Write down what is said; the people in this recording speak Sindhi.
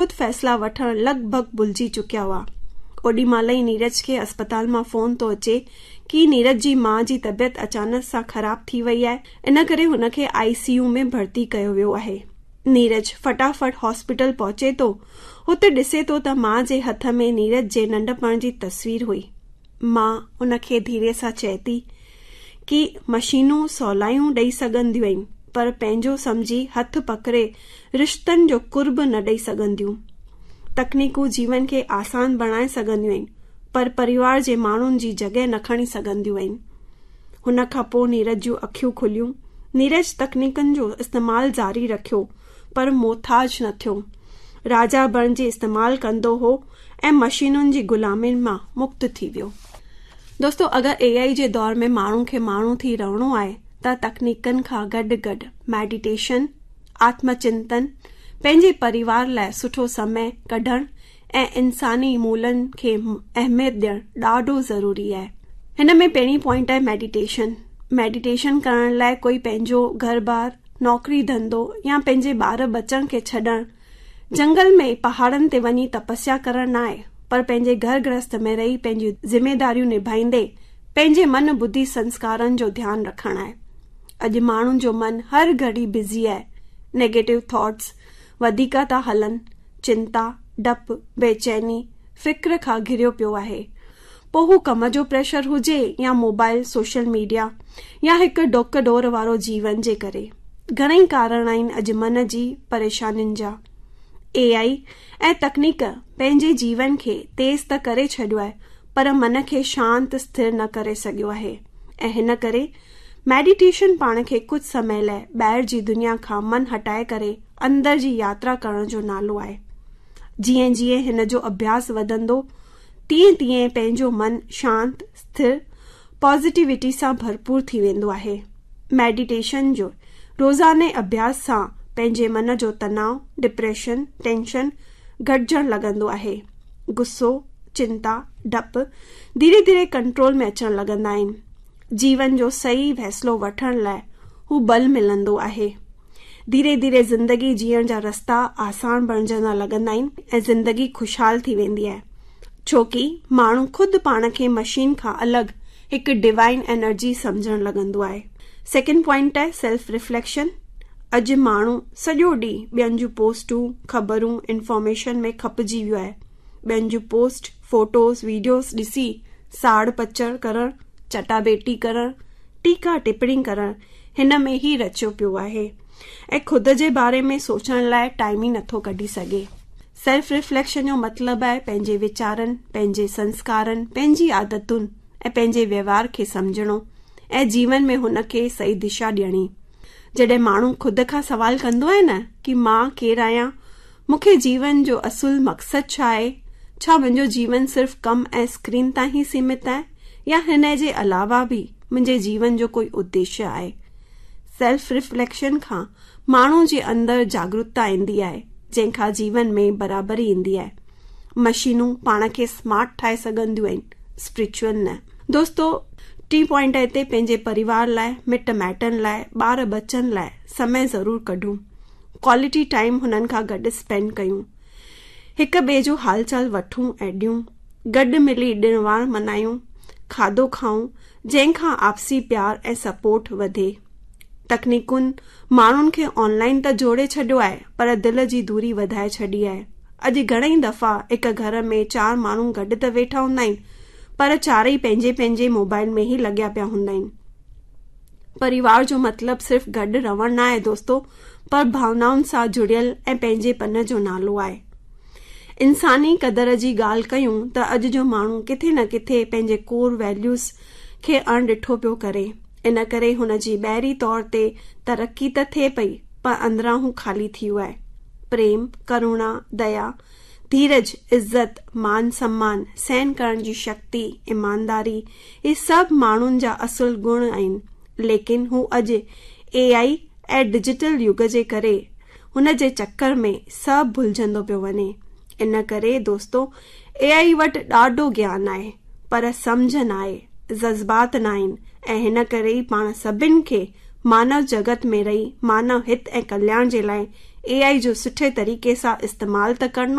خود فيصلا وٺڻ لڳ ڀڳ ڀلجي چڪيا هئا. اوڏي مهل ئي نيرج کي اسپتال مان فون ٿو اچي ڪي نيرج جي ماء جي طبيعت اچانڪ سان خراب ٿي وئي آهي ان ڪري هن کي آء سي يو ۾ ڀرتي ڪيو ويو آهي. نيرج فٽافٽ هاسپيٽل پهچي ٿو. هتي ڏسي ٿو ته ماء جي هٿ ۾ نيرج جي ننڍپڻ جي تصوير هئي. ماء ان کي ڌيري سان چئي ٿي ڪي مشينون سولايون ڏئي سگهنديون آهن پر پنهنجو سمجهي هٿ پڪڙي رشتن جو قرب نه ڏئي سگهنديون. تڪنيڪون جيون کي آسان بڻائي سگهنديون آهن پر پريوار جي ماڻهن جي جڳهه نه کڻي سگهنديون آهن. هن کان پوء نيرج جون اکيون کليون. نيرج تڪنيڪن جو استعمال جاري رکيو پر محتاج نه ٿيو. راجا بڻجي استعمال ڪندو هو ۽ مشينن جي غلامين مان مڪت ٿي ويو. دوستو اگر اي آئي جي دور ۾ ماڻهو کي ماڻهو ٿي رهڻو آهي ته تڪنيڪن کان گڏ گڏ ميڊيٽيشن، آتم چنتن، پنهنجي پريوار لاء سٺو سمي ڪڍڻ ۽ انساني مولن کي اهميت ڏيڻ ڏاڍو ضروري آهي. هن ۾ پهرين پوائنٽ آهي ميڊيٽيشن. ميڊيٽيشن ڪرڻ لاء ڪوئي پنهنجو گهر بار، نوڪري ڌنڌو يا پنهنجي ٻار ٻچن کي ڇڏڻ جنگل ۾ پهاڙن تي وڃي تپسيا ڪرڻ ناهي پر پنهنجي گهر گرهست ۾ رهي پنهنجون ذميداريون نڀائيندي پنهنجي من ٻڌي سنسڪارن جو ڌيان رکڻ آهي. اڄ ماڻهن جو من هر گهڙي بزي آهي، نيگيٽو ٿاٽس وڌيڪ ٿا هلن، چنتا، ڊپ، بيچيني، فڪر کان گهريو پيو آهي. پوء هو ڪم جو پريشر هجي يا موبائل، سوشل ميڊيا يا هڪ ڊوڪ ڊور وارو جيون جي ڪري. گهڻئي ڪارڻ آهن اڄ من جي پريشانين جا. اي آئي ۽ تڪنيڪ پنهنجي جيون کي تيز ته ڪري ڇڏيو آهي پر من کي شانت اسٿر نه ڪري سگهيو آهي ۽ هن ڪري ميڊيٽيشن پاڻ کي ڪجهه سمي لاء ٻاهر جي دنيا کان من هٽائي ڪري اندر جي ياترا ڪرڻ جو نالو آهي. جيئن جيئن هن جو اڀياس وڌندو تيئن تيئن پنهنجو من شانت اسٿر پازيٽيوٽي سان ڀرپور ٿي ويندو آهي. ميڊيٽيشن جو روزاني اڀياس سان پنهنجي من جو تناء، ڊپريشن، ٽينشن گهٽجڻ لڳندو آهي. غصو، چنتا، ڊپ ڌيري ڌيري ڪنٽرول ۾ اچڻ لڳندا آهن. جيون جو صحيح فيصلو وٺڻ لاء هو ٻل ملندو آهي. ڌيري ڌيري زندگي جيئڻ جا رستا آسان بڻجندا لڳندا آهن ۽ زندگي خوشحال ٿي ويندي آهي. ڇوڪي ماڻهو خود پاڻ کي مشين کان الڳ هڪ ڊوائن انرجي سمجهڻ لڳندو آهي. سيڪنڊ پوائنٽ آهي سيلف رفليڪشن. اڄ ماڻهو سڄو ڏينهن ٻين جون پوسٽون، خبرون، انفارميشن ۾ کپجي ويو آهي. ٻين جون پوسٽ، فوٽوز، ويڊيوز ڏسي ساڙ پچڙ ڪرڻ، چٽاڀيٽي ڪرڻ، ٽيڪا ٽپڻي ڪرڻ هن ۾ ئي رچيو پيو آهي ۽ خود جي باري ۾ سوچڻ لاء ٽائيم ئي نٿو ڪڍي سگهي. سيلف رفليڪشن جو مطلب آهي پنهنجي ويچارن، پنهنجي سنسڪارن، پنهنجي عادتن ۽ پنهنجي ويوهار کي سمجهڻو ۽ جيون ۾ هن کي صحيح دشا ڏيڻي. جڏهن ماڻهو خود کان سوال ڪندو آهي نه ڪي مان ڪير آهيان؟ مون کي جيون جو اصل مقصد ڇا آهي؟ ڇا منهنجو جيون صرف ڪم ۽ اسڪرين تائين ئي سيمت آهي يا هن جي علاوه به منهنجي جيون جو ڪوئي اديشيه آهي؟ سيلف رفليڪشن کان ماڻهو جي اندر جاڳرتا ايندي آهي، جنهن کان جيون ۾ برابري ايندي آهي. مشينون پاڻ کي سمارٽ ٺاهي سگهنديون آهن، اسپرچوئل نه. دوستو، ٽين پوائنٽ هتي پنهنجي پريوار لاء، مٽ مائٽن لاء، ٻار ٻچن لاء سمي ضرور ڪڍون. ڪوالٽي ٽائيم هنن کان گڏ اسپينڊ ڪيون. هڪ ٻئي جو حال چال وٺون ۽ ڏيون. گڏ ملي ڏڻ وار منايون، کاڌو کائون، جنهن کان آپسي پيار ۽ سپورٽ وڌي. تڪنيڪن ماڻهن کي آن لائن ته جوڙي ڇڏيو آهي پر دل جي دوري وڌائي ڇڏي آهي. اڄ گهڻئي دفعا هڪ گهر ۾ چار ماڻهو گڏ ته ويٺا هوندا آهن پر چارئي پنهنجي پنهنجي موبائل ۾ ئي لڳيا پيا هوندا آهن. پريوار جو مطلب صرف گڏ رهڻ نه آهي دوستو پر ڀاونائن سان جڙيل ۽ پنهنجي پن جو نالو آهي. انساني قدر جي ڳالهه ڪيون ته اڄ جو ماڻهو ڪٿي نه ڪٿي پنهنجي ڪور ويليوز کي اڻ ڏٺو پيو ڪري. ان ڪري هن جي ٻاهري طور تي ترقي ته ٿئي پئي پر اندران هو خالي ٿي ويو آهي. پريم، ڪروڻا، ديا، ڌيرج، عزت، مان سمان، سهن ڪرڻ جي شڪتي، ايمانداري اهي سڀ ماڻهن جا اصل گڻ آهن ليڪن هو اڄ اي آئي ۽ ڊجيٽل يگ جي ڪري هن جي چڪر ۾ سڀ ڀلجندو پيو وڃي. ان ڪري دوستو اي آئي وٽ ڏاڍو گيان آهي پر سمجهه ناهي، جذبات ناهن ۽ هن ڪري ئي پاڻ سڀن کي مانو جڳت ۾ رهي مانو هت ۽ ڪلياڻ جي لاء اي I جو سٺي طريقي سان استعمال ته ڪرڻو.